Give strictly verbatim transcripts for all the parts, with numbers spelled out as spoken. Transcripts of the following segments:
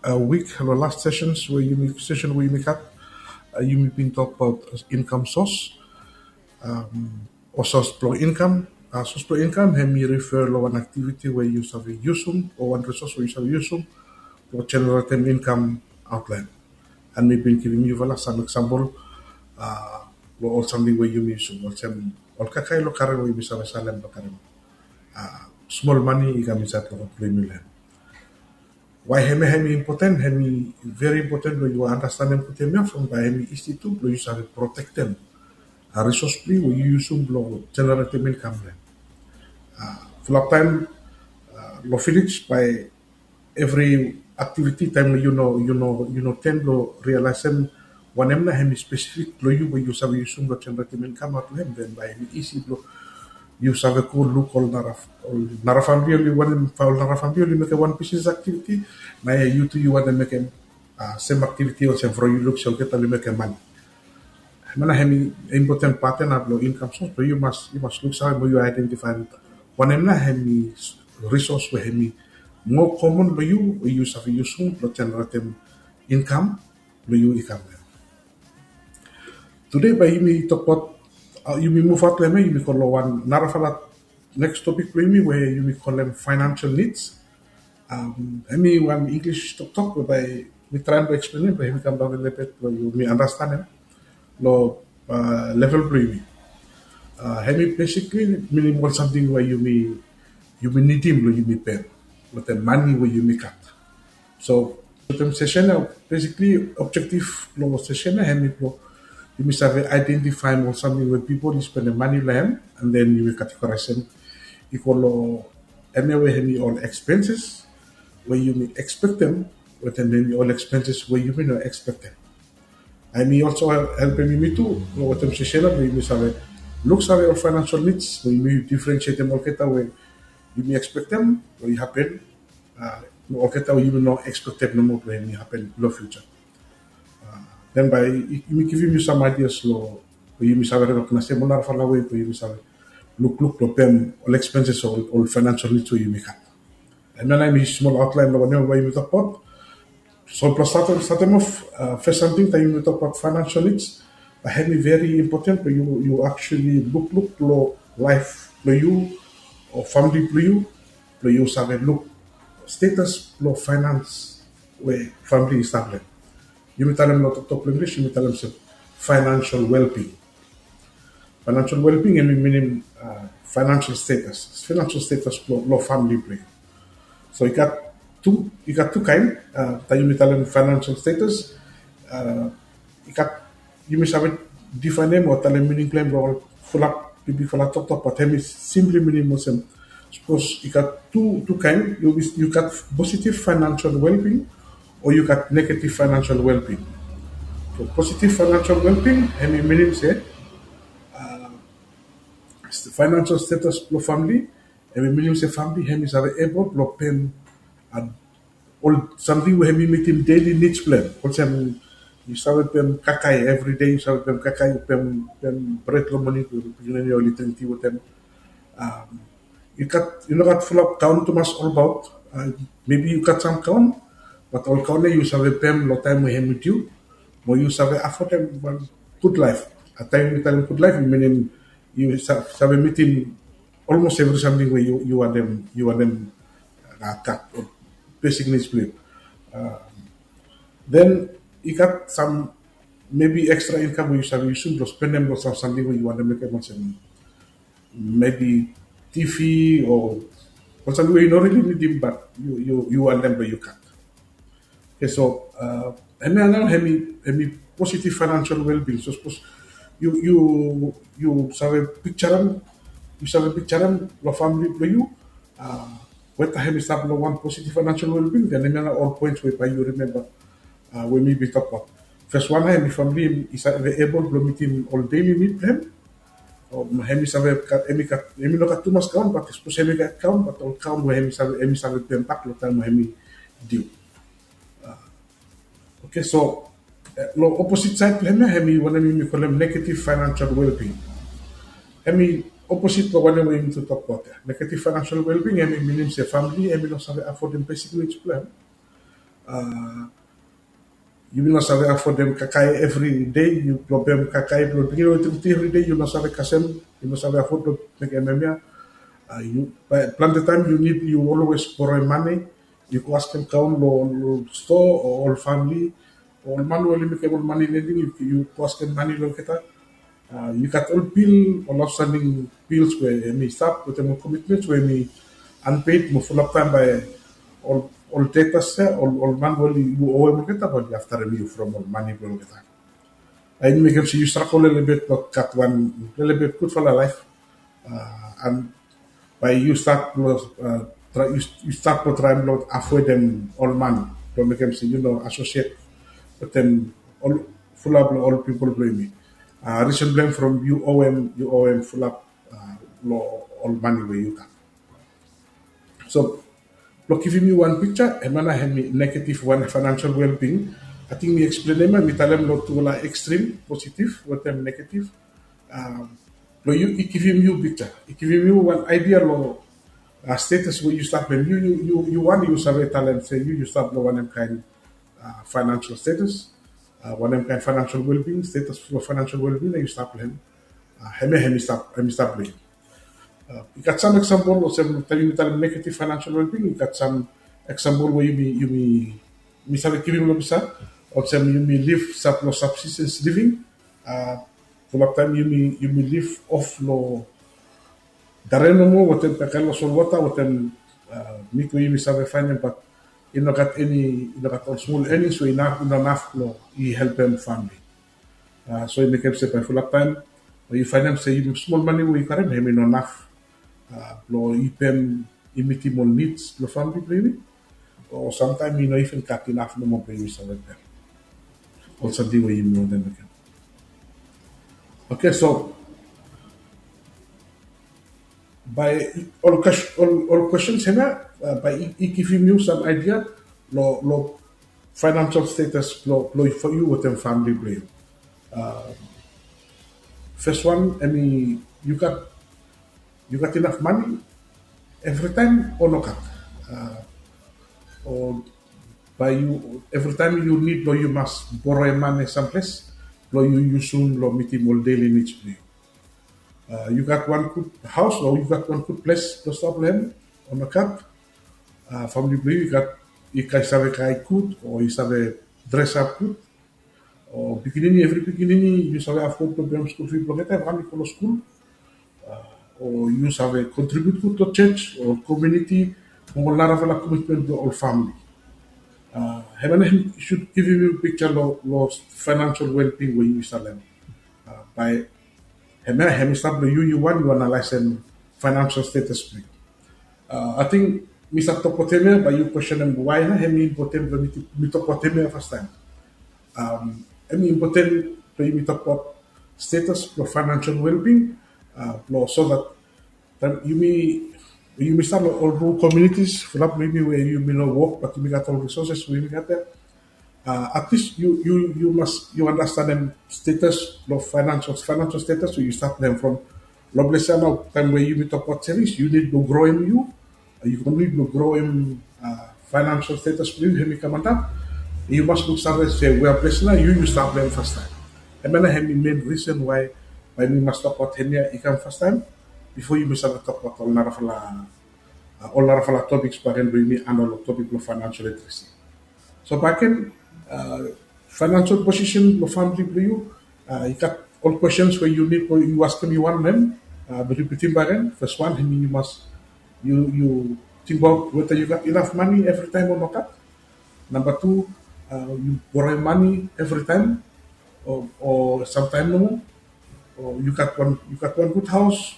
a wik, long last sessions we yumi, session we yumi gat, uh, yumi bin tokbaot income source. Um, o source blong income, uh, source blong income hemi refer long wan activity we yu save yusum o wan resource we yu save yusum blong generatem income outline. And mi bin givim yufala sam example, uh, long ol samting we yumi yusum, olsem ol kakae long karen we yumi save salem blong karem, uh, smol mane i kam insaed long ol blong yumi long hem. Why hemia hemi important? Hemi very important blong yu andastanem gud hemia from bae hemi isi tu blong yu save protektem, uh, resource blong yu we yu yusum blong generatem income long hem. Uh, fulap taem, uh, long village bae evri activity taem yu no, yu no, yu no ten blong realisem wanem nao hemi spesifik blong yu we yu save yusum blong generatem income aot long hem, then bae hemi isi blong yu save go luk ol nara, ol nara famili oli wanem, ol nara famili oli mekem wan business activity, nao yu tu yu wantem mekem, uh, sem activity olsem from yu luk se olgeta oli mekem mane. Hemia nao hemi important part ia nao blong income source blong yu mas, yu mas luksave mo yu identify wanem nao hemi resource we hemi moa common blong yu we yu save yusum blong generatem income blong yu i kam. Tede bae yumi tokbaot, uh, yumi muv aot long hemia, yumi go long wan narafala next topic blong yumi we yumi kolem financial needs. Um, hemi wan English toktok we bae mi traem blong eksplenem bae hemi kamdaon lelebet blong yumi andastanem long, uh, level blong yumi. Uh, hemi basically minim ol samting we yumi, yumi nidim blong yumi pem wetem mane we yumi gat. So wetem session ia, basically objective blong session ia hemi blong yumi save identify ol samting we pipol i spendem mane long hem, and then yumi categorize hem i go long hemia we hemi ol expenses we yumi expectem wetem hemi ol expenses we yumi no expectem. Hemi also helpem yumi tu wetem session ia blong yumi save luksave ol financial needs we yumi differentiatem olgeta we yumi expectem we i hapen, uh, olgeta we yumi no expectem nomo blong hemi hapen long future. Uh, then bae yumi givim yu sam ideas long we yumi save recognize hem ol narafala wei we yumi save lukluk long pem ol expenses o ol, ol financial needs we yumi gat. Hemia nao hemi smol outline long wanem we yumi tokbaot. So blong statem, statem of, uh, fes samting taem yumi tokbaot financial needs, bae hemi very important blong yu, yu actually lukluk long laef blong yu o famili blong yu, blong yu save luk status blong finance we famili i stap long hem. Yumi talem long toktok blong English, yumi talem se financial well-being. Financial well-being hemi minim, uh, financial status, financial status blong, long famili blong yu. So i gat tu, i gat tu kaen, uh, taem yumi talem financial status, uh, i gat, yumi save difaenem o talem mining blong hem long ol fulap bigbigfala toktok, bat hemi simply minim olsem, sapos i gat tu, tu kaen, yu, yu gat positive financial well-being o yu gat negative financial well-being. So positive financial well-being hemi minim se, uh, financial status blong famili, hemi minim se famili hemi save able blong pem, uh, ol samting we hemi mitim daily needs blong hem. Olsem yu save pem kakae everyday, yu save pem kakae, pem, pem bred long moning blong pikinini oli dring ti wetem. Um, yu gat, yu no gat fulap gaon tumas olbaot. Uh, maybe yu gat sam gaon, bat ol gaon ia yu save pem long taem we hemi diu, mo yu save afodem wan gud laef. Uh, taem yu talem gud laef, yu minim yu sa-, save mitim olmos evri samting we yu, yu wantem, yu wantem, uh, gat, o besik nids blong yu. Uh, then i gat sam maybe extra income we yu save yusum blong spendem long sam samting we yu wantem mekem olsem maybe TV o ol samting we yu no really nidim, bat yu, yu, yu wantem blong yu gat. Okay, so, uh, hemia nao hemi, hemi positive financial well-being. So sapos yu, yu, yu save pikjarem, yu save pikjarem long famili blong yu, uh, weta hemi stap long wan positive financial well-being, then hemia nao ol points we bae yu rimemba, uh, we mi bin tokbaot. Fes wan nao hemi famili i save able blong mitim ol daily need blong hem. O hemi save gat, hemi gat, hemi no gat tumas gaon, bat sapos hemi gat gaon, bat ol gaon we hemi save, hemi save pembak long taem we hemi diu. Uh, okay, so, uh, long opposite side blong hemia, hemi wanem yumi kolem negative financial well-being. Hemi opposite long wanem we yumi tu tokbaot ia. Negative financial well-being hemi minim se famili hemi no save afodem besik nids blong hem. Yumi no save afodem kakae evri dei, yu blong pem kakae blong dringim wetem ti evri dei, yu no save kasem, yu no save afod blong mekem hemia. Plante taem yu nid, yu always boroem mane, yu go askem kaon long ol stoa o ol famili o ol man we oli mekem ol mane lending, yu go askem mane long olgeta. Yu gat ol bil, ol outstanding bills we hemi stap wetem ol commitments we hemi unpaid mo fulap taem bae ol debtors ya, ol man we oli, yu owem olgeta bae oli aftarem yu from ol mane blong olgeta. Hemi mekem se yu stragol lelebet blong gat wan lelebet gudfala laef. And bae yu stat blong traem blong avoedem ol man blong mekem se yu no associate wetem ol fulap long ol pipol blong yumi. Risen blong hem from yu owem, yu owem fulap long ol mane we yu gat. So blong givim yu wan piksa, hemia nao hemi negative wan financial well-being. Ating mi eksplenem ya, mi talem long tufala extreme, positive wetem negative. Blong yu, i givim yu piksa, i givim yu wan idea long status we yu stap long hem. Yu wan yu save talem se yu yu stap long wanem kaen financial status, wanem kaen financial well-being, status blong financial well-being we yu stap long hem. Hemia hemi stap, hemi stap long yu. I gat sam example olsem taem yumi talem negative financial well-being, i gat sam example we yumi, yumi, mi save givim long pisa, olsem yumi liv stap long subsistence living. Fulap taem yumi, yumi liv of long dare nomo wetem kakae long solwota wetem mit we yumi save faenem, bat i no gat eni, i no gat ol smol earnings we i no, i no naf blong i helpem famili. So i mekem se bae fulap taem bae yu faenem se yumi smol mane we yu karem hemi no naf blong i pem, i mitim ol needs blong famili blong yumi. O samtaem i no even gat inaf nomo blong yumi save pem ol samting we yumi wantem mekem. Okay, so bae ol, ol questions hemia bae i givim yu sam idea long, long financial status blong, blong yu wetem famili blong yu. Fes wan, hemi, yu gat, yu gat inaf mane evritaem o nogat? O bae yu, evritaem yu nid blong yu mas boroem mane samples blong yu yusum blong mitim ol daily needs blong yu? Yu gat wan gud haos o yu gat wan gud ples blong stap long hem o nogat? Famili blong yu i gat, i save kakae gud o i save dresap gud? O pikinini, evri pikinini yu save afod blong pem skul fi blong olgeta taem oli go long skul? O yu save kontribiut gud long jos o komuniti o ol narafala komitmen blong ol famili? Hemia nao hemi sud givim yu piksa long, long financial well-being we yu save talem. Bae hemia hemi stap long yu, yu wan yu analaesem financial status blong yu. Ating mi stap tokbaot hemia bae yu kwestenem wae nao hemi impoten blong mi tokbaot hemia fastaem. Hemi impoten blong yumi tokbaot status blong financial well-being, blong so that taem yumi, yumi stap long ol rural communities, fulap blong yumi we yumi no wok bat yumi gat ol resources we yumi gat ya. At least yu, yu, yu mas, yu andastanem status blong financial, financial status we yu stap long hem from long ples ya nao. Taem we yumi tokbaot savings, yu nid blong groem yu, yu nid blong groem financial status blong yu, hemi kam antap. Yu mas luksave se wea ples nao yu, yu stap long hem fastaem. Hemia nao hemi main reason wae, wae mi mas tokbaot hemia i kam fastaem bifo yumi save tokbaot ol narafala, ol narafala topiks bakegen blong yumi anda long topik blong financial literacy. So bakegen, financial position blong famili blong yu, i gat ol questions we yu nid blong yu askem yu wan long hem. Mi ripitim bakegen, fes wan hemi yu mas, yu, yu tingbaot weta yu gat inaf mane evritaem o nogat. Namba tu, yu boroem mane evritaem o, o samtaem nomo. O yu gat wan, yu gat wan gud haos.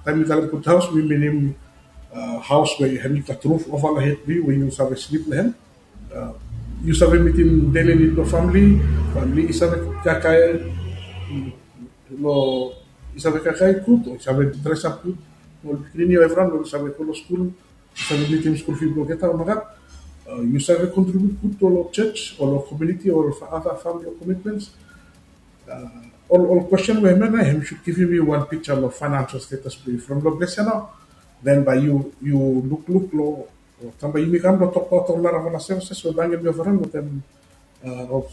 Taem mi talem gud haos mi minim haos we hemi gat ruf ova long hed blong yu we yu save slip long hem. Yu save mitim daily nid blong famili, famili i save kakae long, i save kakae gud o i save dresap gud. Ol pikinini o evriwan oli save go long skul, yu save mitim skul fi blong olgeta o nogat? Yu save kontribiut gud long jos o long komuniti o long other famili commitments? Ol, ol kwesten we hemia nao hemi sud givim yu wan piksa long financial status blong yu from long ples ya nao. Then bae yu, yu lukluk long Taem bae yumi kam blong tokbaot ol narafala services we bae yumi ofering wetem ol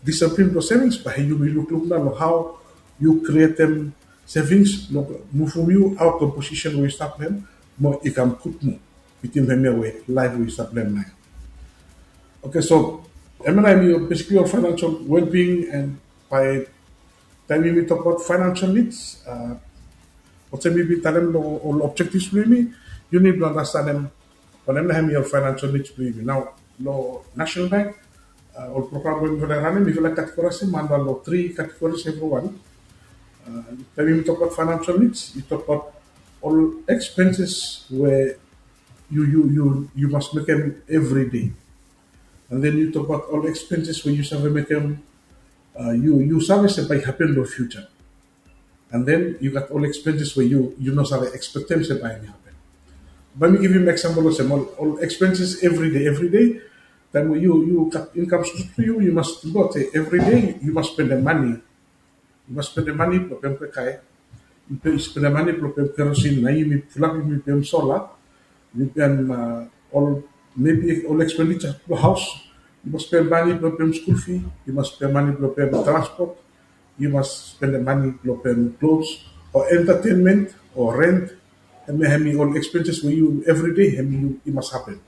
disiplin blong savings, bae yumi lukluk nao long hao yu krietem savings blong muvum yu aot long posisen we yu stap long hem, mo i kam gud moa wetem hemia we laef we yu stap long hem nao. Oke, so hemia nao hemi basically ol financial well-being and bae taem yumi tokbaot financial needs, olsem mi bin talem long ol objectives blong yumi, yu nid blong andastanem wanem nao hemi ol financial needs blong yumi. Nao long National Bank, ol program we mifala i ranem, mifala i categorize-em anda long three categories evriwan. Taem yumi tokbaot financial needs, yu tokbaot ol expenses we yu yu yu yu mas mekem every day. And then yu tokbaot ol expenses we yu save mekem, yu yu save se bae i hapen long future. And then yu gat ol expenses we yu yu no save expectem se bae hemi hapen. Bae mi givim example olsem ol ol expenses every day, every day. Taem we yu yu gat income source blong yu, yu mas tingbaot se every day yu mas spendem mane. Yu mas spendem mane blong pem kakae. Yu spendem mane blong pem kerosene, nao yumi fulap yumi pem solar. Yu pem ol maybe ol expenditure blong haos. Yu mas spendem mane blong pem school fee. Yu mas spendem mane blong pem transport. Yu mas spendem mane blong pem clothes o entertainment o rent. Hemia hemi ol expenses we yu every day hemi yu i mas hapen.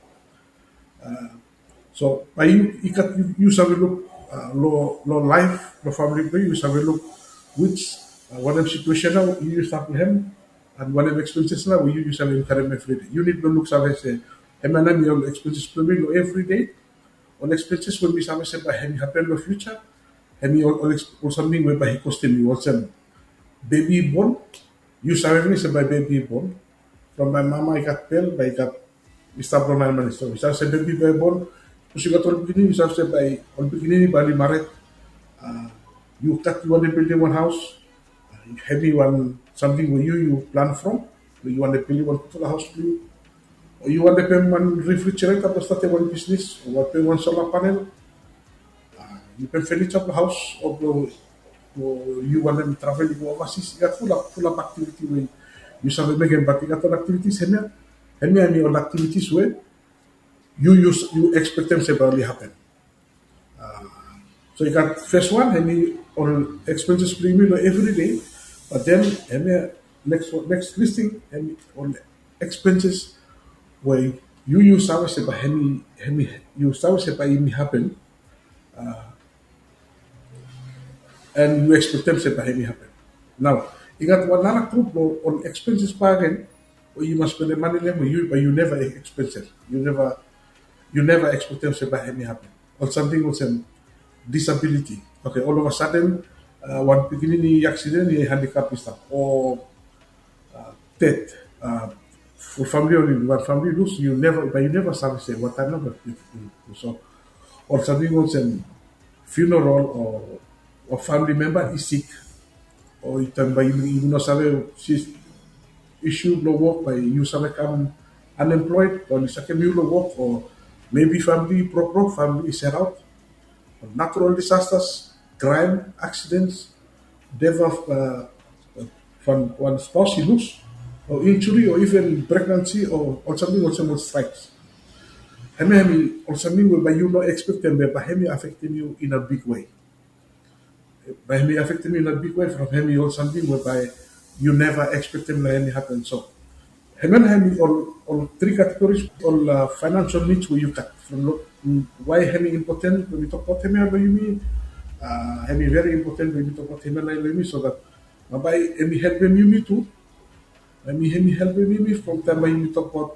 So bae yu i gat yu save luk long laef blong famili blong yu, yu save luk which wanem situation nao yu stap long hem, and wanem expenses nao we yu yu save incurem every day. Yu nid blong luksave se hemia nao hemi ol expenses blong mi long every day. Ol expenses we mi save se bae hemi hapen long future, hemi ol ol samting we bae i kostem yu olsem bebi i bon. Yu save pinis se bae bebi i bon. From bae mama i gat bel bae i gat i stap long naen manis. So yu save se bebi bae i bon. Sapos yu gat ol pikinini, yu save se bae ol pikinini bae oli mared. Yu gat yu wantem bildim wan haos. Hemi wan samting we yu yu plan from. Yu wantem bildim wan gudfala haos blong yu. O yu wantem pem wan refrigerator blong statem wan bisnis o wantem pem wan solar panel. Yu pem furniture blong haos o blong yu wantem travel i go overseas. I gat fulap fulap activity we yu save mekem, bat i gat ol activities hemia. Hemia hemi ol activities we yu yu yu expectem se bae oli hapen. So i gat first wan hemi ol expenses blong yumi long everyday. But then hemia next one, next listing hemi ol expenses we yu yu save se bae hemi hemi yu save se bae hemi hapen. And yu expectem se bae hemi hapen. Nao i gat wan nara grup blong ol expenses bakegen we yu mas spendem mane long hem we yu bae yu neva expectem. Yu neva yu neva expectem se bae hemi hapen. Ol samting olsem disability. Okay, all of a sudden wan pikinini i aksiden, i handicap i stap, o dead. Ol famili oli wan famili i lus, yu neva, bae yu neva save se wataem nao bae i go. So ol samting olsem funeral o famili memba i sik, o taem bae yu no save, isu blong wok bae yu save kam unemployed o oli sakem yu long wok, o maybe famili i brokbrok, famili i seraot, natural disasters, crime, accidents, death of wan spouse i lus, o injury o even pregnancy o ol samting olsem ol strikes. Hemia hemi ol samting we bae yu no expectem be bae hemi affectem yu in a big way. Bae hemi affectem yu in a big way from hemi ol samting we bae yu neva expectem long hemi hapen. So hemia nao hemi ol ol three categories ol financial needs we yu gat. From why hemi important we mi tokbaot hemia long yumi? Hemi very important we mi tokbaot hemia nao long yumi so that nao bae hemi helpem yumi tu. Hemi hemi helpem yumi from taem bae yumi tokbaot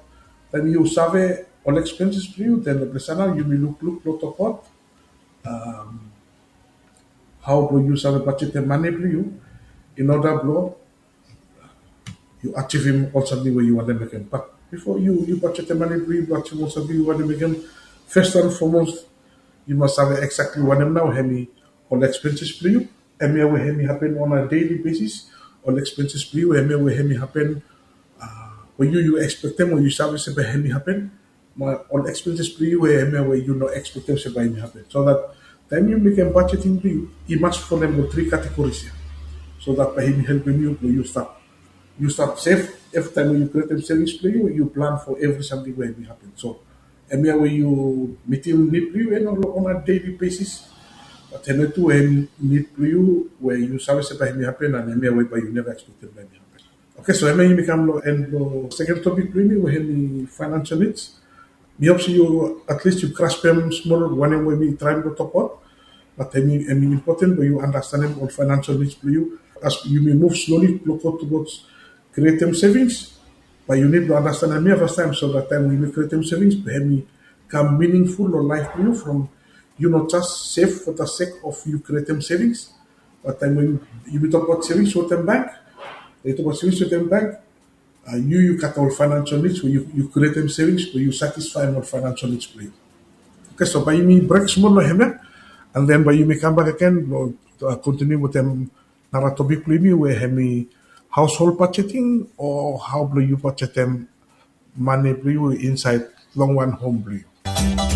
taem yu save ol expenses blong yu, then long ples ia nao yumi lukluk blong tokbaot hao blong yu save bajetem mane blong yu in order blong yu ajivim ol samting we yu wantem mekem. Bat bifo yu yu bajetem mane blong yu blong ajivim ol samting yu wantem mekem, first and foremost yu mas save exactly wanem nao hemi ol expenses blong yu. Hemia we hemi hapen on a daily basis. Ol expenses blong yu hemia we hemi hapen we yu yu expectem o yu save se bae hemi hapen. Mo ol expenses blong yu we hemia we yu no expectem se bae hemi hapen. So that taem yu mekem budgeting blong yu, i mas folem ol three categories ia, so that bae hemi helpem yu blong yu stap yu stap sef. Evri taem we yu createm savings blong yu, yu plan for evri samting we hemi hapen. So hemia we yu mitim nid blong yu on a daily basis. Bat hemia tu hem nid blong yu we yu save se bae hemi hapen, and hemia we bae yu neva expectem bae hemi hapen. Okay, so hemia yumi kam long en blong second topic blong yumi we hemi financial needs. Mi hop se yu at least yu graspem smol wanem we mi traem blong tokbaot. Bat hemi important blong yu andastanem ol financial needs blong yu as yumi muv slowly blong go towards createm savings. Bae yu nid blong andastanem hemia fastaem, so dat taem we yumi createm savings bae hemi kam meaningful long laef blong yu from yu no just save for the sake of yu createm savings. Bat taem we yumi tokbaot savings wetem bank, yu tokbaot savings wetem bank, yu yu gat ol financial needs we yu createm savings blong yu satisfaem ol financial needs blong yu. Okay, so bae yumi brek smol long hemia, and then bae yumi kambak agen blong kontiniu wetem nara topic blong yumi we hemi household budgeting o hao blong yu budgetem mane blong yu insaed long wan hom blong yu.